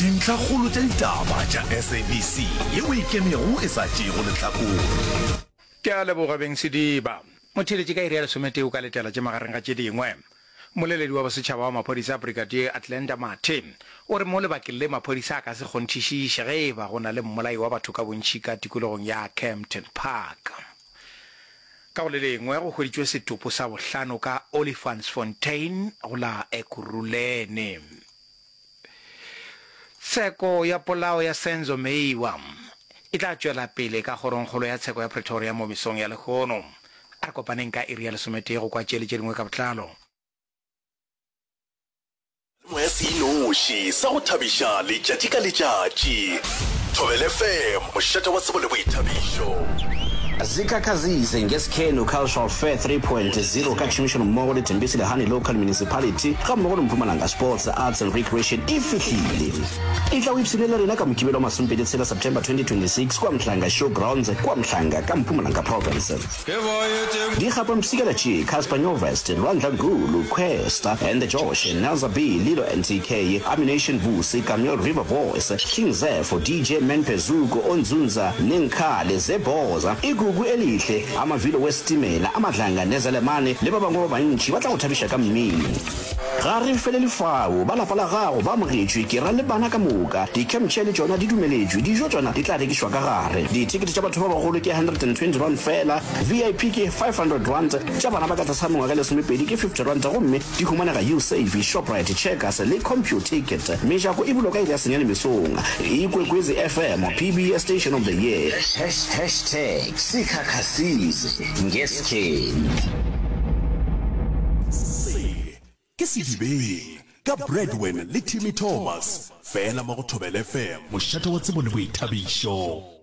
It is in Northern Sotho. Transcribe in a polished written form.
Dintlhakgolo tša ditaba tša SABC yeo e ikemego e sa tšeego lehlakore. Ke a leboga beng Sediba. Motheeletši ka iri ya lesometee o ka letela tše magareng ga tše dingwe. Mmoleledi wa bosetšhaba wa maphodisa Brigadier Athlenda Mathe o re mo lebakeng le maphodisa a ka se kgonthišiše ge e ba go na le mmolai wa batho ka bontši ka tikologong ya Kempton Park. Ka go le lengwe go hweditšwe setopo sa bohlano ka Olifantsfontein go la Ekurhuleni. Tsheko ya polao ya Senzo Meyiwa e tla tšwela pele ka Kgorongkgolo ya Tsheko ya Pretoria mo mesong ya lehono. A re kopaneng ka iri ya lesometee go kwa tše le tše dingwe ka botlalo. Moya se inoši sa go thabiša letšatši ka letšatši. Thobela FM, mošate wa tsebo le boithabišo. Zikhakhazise ngeSikhenu Cultural Fair 3.0 ka tšhomišanommogo le Thembisile Hani Local Municipality gammogo le Mpumalanga Sports, Arts and Recreation e fihlile. Etla o ipshine le rena ka Mokibelo wa masomepedi tshela September 2026 kua Mhlanga Show Grounds kua Mhlanga ka Mpumalanga Province. Dikgapampshikela tše, Cassper Nyovest, Lwandla Gulu, Kwesta and the Josh, Nelza B, Lilo NTK, Ammunition Vusi, Kameel River Boys, King Zepho, DJ Menpe Zuko, Onzunza, Nenkhale, Zebhoza, Igugu Elihle, Amavilo Wesitimela, Amadlanga Nezelemane le ba bangwe ba bantši ba tla go thabiša ka mmino. Ga re felele fao, ba lapa la gago ba amogetšwe, ke ra le bana ka moka. Di-camp chair le tšona di dumeletšwe, dijo tšona di tla rekišwa ka gare. Dithekete tša batho ba bagolo ke R120 feela, VIP ke R500, tša bana ba ka tlase ga mengwaga e lesomepedi ke R50 gomme di humanega Usave, Shoprite, Checkers le Computicket. Mejako e bulwa ka iri ya senyane mesong. Ikwekwezi FM, PBS Station of the Year. Hashtag Sikhakhasize ngeskhenu. Se ke Sedibeng ka Bradwin le Timmy Thomas, fela mo go Thobela FM, mošate wa tsebo le boithabišo.